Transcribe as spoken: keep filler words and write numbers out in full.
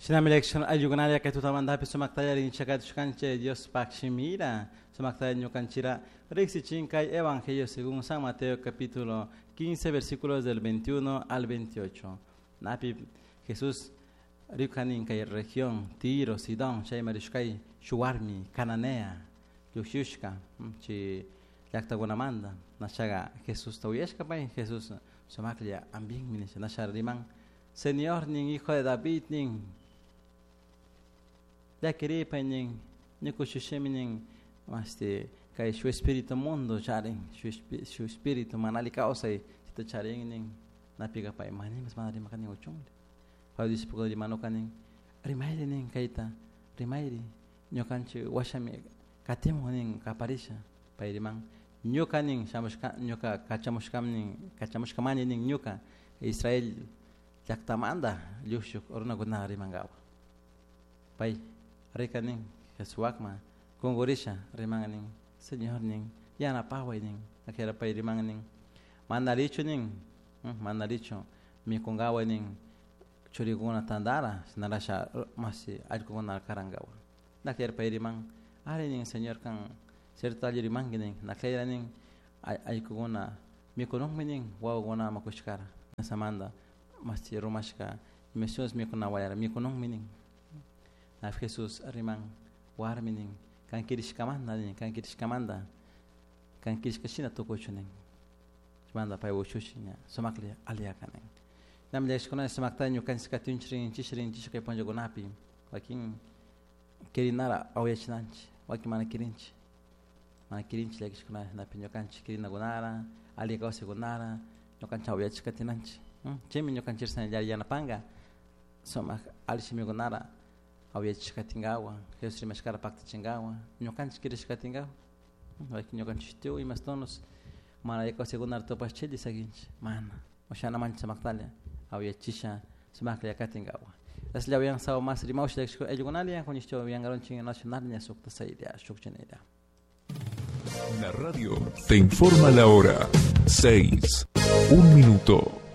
Shinami lección ayugunaria kay tutamantapi sumaktalla rinchakatushkanchik Diospaq shimira sumaktalla ñukanchira riqsichin kay Evangelio según San Mateo capítulo quince versículos del veintiuno al veintiocho. Napi Jesús rikukanin kay región Tiro, Sidón, chayma rishkay shuwarmi Cananea llukshushka chi llaqtakunamanta nashaqa Jesusta uyashka pay Jesús sumaklla ampinmi nisha nasha riman Señor nin hijo de David nin llakiripay nin ñukushushimi nin este kay shu espíritu mundo charin shu, shu espíritu mana alli kawsay chita charin nin napiqa pay manimas mana rimakanin uchunri pay discípulo rimanuka nin rimayri nin kayta rimayri ñukanchik washami katimun nin kaparisha pay riman ñuka nin shamushka ñuka kachamushkam nin kachamushkamani nin ñuka Israel llaqtamanta lluqshuk runakunaqa rimankawa pay rika nin Jesuwaqman kunkurisha riman nin Señor nin yanapaway nin akira pay riman nin mana richu nin mana richu mikunkaway nin churikuna tantara shinarasha masi allqukuna karankawa nakira pay riman ari nin Señor kan cierto alli rimanki nin nakira nin allqukuna mikununmi nin wawakuna makushkara samanta masi rumashka misiones mikunawayara mikununmi nin na Jesús riman warmi nin kan kirishkamanta nin kan kirishkamanta kan kirishkashina tukuchu nin manda pay ushushi ña sumaklla aliyaka nin nam llakishkuna sumakta ñukanchik katinchik rinchik rinchik kay punllakunapi wakin kirinara awyachinanchik wakin mana kirinchik mana kirinchik llakishkuna napi ñukanchik kirinakunara alli kawsaykunara ñukanchik awyachik katinanchik chaymi ñukanchik yanapanka sumak alli shimikunara awyachik katinkawa Jesús rimashkara paktachinkawa ñukanchik kirishka katinkawa wakin ñukanchik tukuy imastonos mana alli kawsaykunara tupashchilli sakinchik mana ushana mancha sumaktalla awyachisha sumaklla katinkawa Aslla uyan sawa mas rimawsh ayllukunalla kuñishcha uyankaronchik nacional ña sukta saydia shukchinayda. La radio te informa la hora seis, un minuto.